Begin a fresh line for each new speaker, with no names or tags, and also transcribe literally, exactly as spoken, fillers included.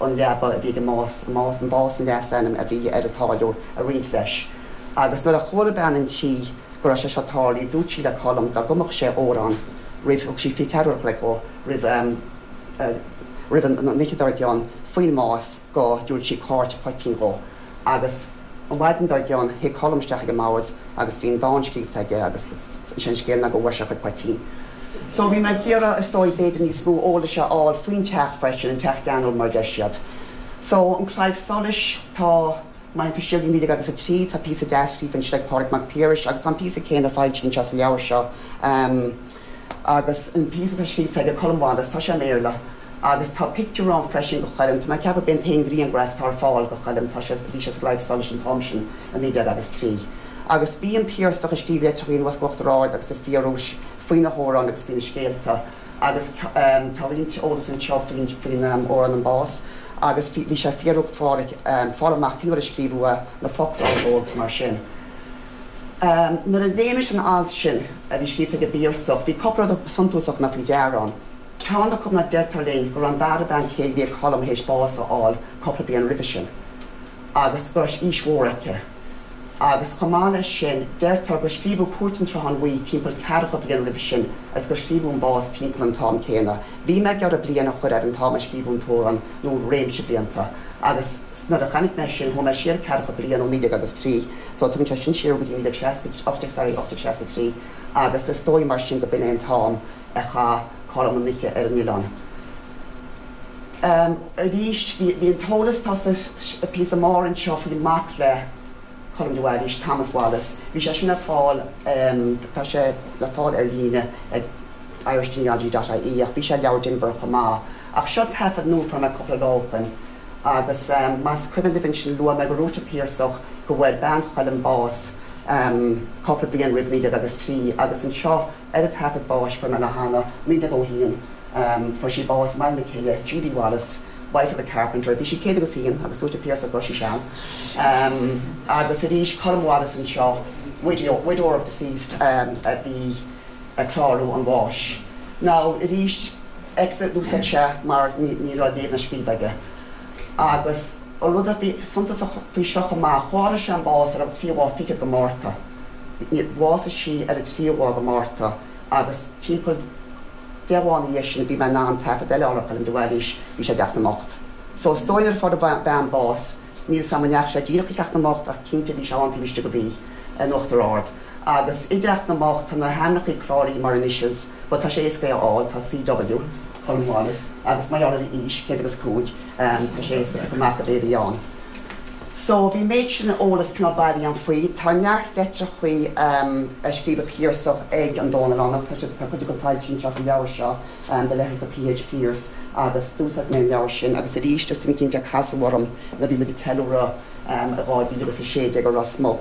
an leaba a bhí ag más más an bás an leasainm a bhí ar an táilliúir a roinnt leis. Agus nuair a chuala bean an tí go raibh sé seo tarlaithe dúirt sí le Colm dá gcumfadh sé amhrán roimh thug sí fiche ceathair le go roimh um, uh, roimh an oíche dár gcionn faoin mbás go dtabharfadh sí cairt poitín dó agus an mhaidin dár gcionn théigh Colm isteach ag an mbord agus bhí an dán scríofa aige agus sin scéal na go bhfuair sé chuid poitín. So bhí mé ag iarraidh is dóigh b'fhéidir níos mó eolais a fháil faoin teach freisin an teach geanúil mar deir siad. So an Claidheamh Soluis tá Má tú siar naoi déag agus a trí tá píosa deas scríofa anseo ag Pádraig Mac Piarais agus an píosa céanna foilsithe anseo sa leabhar seo. Um, agus an píosa atá scríofa ag Colm Wallace tá sé i mBéarla agus tá pictiúr ann freisin de Cholm Tá ceap ben féin grianghraf tá ar fáil de Cholm tá sé bhí sé sa gClaidheamh Soluis an t-am sin a naoi déag agus trí. Agus bhí an Piarsach ag scríobh litreacha anuas go Uachtar Ard agus sa Phiarais faoina hamhráin agus faoina scéalta agus um, tá roinnt eolas anseo faoin faoin um, amhrán an bás agus bhí sé fiú fáil fáil amach cén uair a scríobhadh na focla agus mar sin. Um, Nuair a léigh mise an alt sin a bhí scríofa ag an bPiarsach, bhí cúpla rud suntasach mé faoi deara ann. Ceann acu ná deirtear linn go raibh an dara bean chéile bhí ag Colm théis bás a fháil cúpla bliain roimhe sin. agus go raibh aois mhór aici. Agus chomh maith leis sin deirtear gur scríobhadh Cúirt an tSrutháin Bhuí timpeall ceathracha bliain roimhe sin agus gur scríobhadh an bás timpeall an t-am céanna. Bhí mé ag iarraidh bliain a chur ar an t-am a scríobhadh an t-amhrán nó réimse blianta. agus nuair a chonaic mé sin chuaigh mé siar ceathracha bliain ó naoi déag agus trí, so tugann sé sin siar go dtí naoi déag ocht sorry ocht seasca trí, agus is dóigh mar sin go b'in é an t-am a chaith Colm an oíche ar an oileán. Um, Arís bhí an t-eolas tá sa píosa mór anseo faoi mac le Colm de Bhailís Thomas Wallace. Bhí sé sin le fáil um, tá sé le fáil ar líne ag irishgenealogy.ie ach bhí sé leabhar Denvir chomh maith. Ach seo taifead nua fuair mé cúpla lá ó shin. agus um, más cuimhin libh sin luaigh mé go ndúirt an Piarsach go bhfuair bean Choilm bás um, cúpla bliain roimh naoi déag agus trí agus anseo ar an taifead báis fuair mé le hAnna naoi déag a haon um, fuair sí bás Mile na Cille Judy Wallace wife of a carpenter, bhí sí céad agus haon agus dúirt an Piarsach go raibh sí sean. Um, agus arís Colm Wallace anseo widow, widow of deceased um, a bhí ag clárú an bháis. Now arís X a d'úsáid sé mar ní raibh léamh ná scríobh aige. Agus an rud a bhí suntasach faoi seo amach tharla sé an bás ar an tríú lá fichead de Mhárta. Bhásaigh sí ar an tríú lá de Mhárta agus timpeall deich lá ina dhiaidh sin bhí mé in ann taifead eile ar Cholm de Bhailís bhí sé i dTeach na mBocht. So is dóigh nuair a fuair an bhean bás níl sam neach sé díreach i dTeach na mBocht ach cinnte bhí sé an taobh istigh go bhí in Uachtar Ard. Agus i dTeach na mBocht tá na hainmneacha cláraithe mar initials, but tá sé éasca a fháil tá CW Colm Wallace agus mar gheall ar aois céad agus cúig um, tá sé éasca go amach a bhéh ann. So bhí méid sin eolas cineál bailithe agam faoi, Tá neart litreacha um, a scríobh an Piarsach ag an Dónallánach tá tá cuid acu foilsithe anseo sa leabhar seo um, the letters of PH Pearse agus d'úsáid mé an leabhar sin agus arís just an cinnte casadh orm le bhí muid ag ceiliúradh um, a dhá mhíle agus a sé déag a Ros Muc.